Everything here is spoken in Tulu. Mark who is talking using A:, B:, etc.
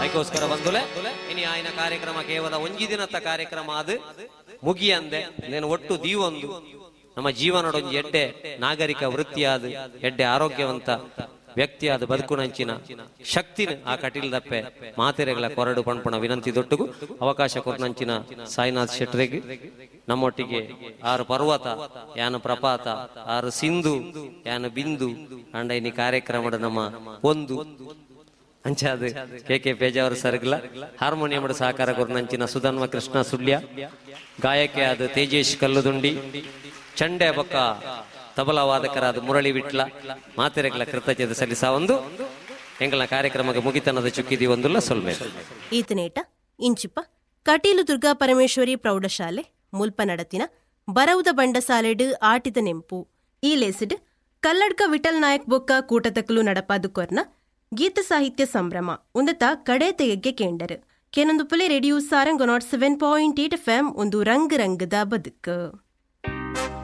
A: ಐಕೋಸ್ಕರ ಬಂದುಲೆ ಇನಿ ಆಯ್ನ ಕಾರ್ಯಕ್ರಮ ಕೇವಲ ಒಂಜಿ ದಿನದ ಕಾರ್ಯಕ್ರಮ ಅದು ಮುಗಿಯಂದೆ ನೇನು ಒಟ್ಟು ದೀವೊಂದು ನಮ್ಮ ಜೀವನಡೊಂಜಿ ಎಡ್ಡೆ ನಾಗರಿಕ ವೃತ್ತಿಯಾದ ಎಡ್ಡೆ ಆರೋಗ್ಯವಂತ ವ್ಯಕ್ತಿಯಾದ ಬದುಕುನಂಚಿನ ಶಕ್ತಿನ ಆ ಕಟೀಲ್ ದಪ್ಪೆ ಮಾತೆರೆಗಳ ಕೊರಡು ಪಣ್ಪಣ ವಿನಂತಿ ದೊಟ್ಟುಗು ಅವಕಾಶ ಕೊರ್ನಂಚಿನ ಸಾಯಿನಾಥ್ ಶೆಟ್ರೆಗ್ ನಮ್ಮೊಟ್ಟಿಗೆ ಆರು ಪರ್ವತ ಯಾನು ಪ್ರಪಾತ ಆರು ಸಿಂಧು ಯಾನು ಬಿಂದು ಅಂಡ ಇನಿ ಕಾರ್ಯಕ್ರಮದ ನಮ್ಮ ಒಂದು ಅಂಚಾದ ಕೆ ಕೆ ಪೇಜಾವರ ಸರ್ಗ್ಲ ಹಾರ್ಮೋನಿಯಂ ಸಹಕಾರ ಕೊರ್ನಂಚಿನ ಸುಧನ್ವ ಕೃಷ್ಣ ಸುಳ್ಯ, ಗಾಯಕಿಯಾದ ತೇಜೇಶ್ ಕಲ್ಲುದುಂಡಿ, ಚಂಡೆ ಬೊಕ್ಕ ತಬಲಾ ವಾದಕರಾದ ಮುರಳಿ ವಿಟ್ಲ ಮಾತೆರೆಗಳ ಕೃತಜ್ಞತೆ ಸಲ್ಲಿಸ ಒಂದು ಎಂಗಳ ಕಾರ್ಯಕ್ರಮಕ್ಕೆ ಮುಗಿತನದ ಚುಕ್ಕಿದಿ ಒಂದುಲ್ಲ ಸೊಲ್ಮೆ.
B: ಈತನೇಟ ಇಂಚಿಪ ಕಟೀಲು ದುರ್ಗಾ ಪರಮೇಶ್ವರಿ ಪ್ರೌಢಶಾಲೆ ಮುಲ್ಪ ನಡತಿನ ಬರವುದ ಬಂಡಸಾಲೆಡ್ ಆಟಿದ ನೆಂಪು ಈ ಲೇಸಿಡ್ ಕಲ್ಲಡ್ಕ ವಿಠಲ್ ನಾಯಕ್ ಬೊಕ್ಕ ಕೂಟತಕಲು ನಡಪಾದು ಕೊರ್ನ ಗೀತ ಸಾಹಿತ್ಯ ಸಂಭ್ರಮ ಉಂದತ ಕಡೆ ತೆಗೆಗೆ ಕೇಂಡರು ಕೇನೊಂದು Phule radio Sarang 7.8 F M ಒಂದು ರಂಗ್ ರಂಗದ ಬದುಕು.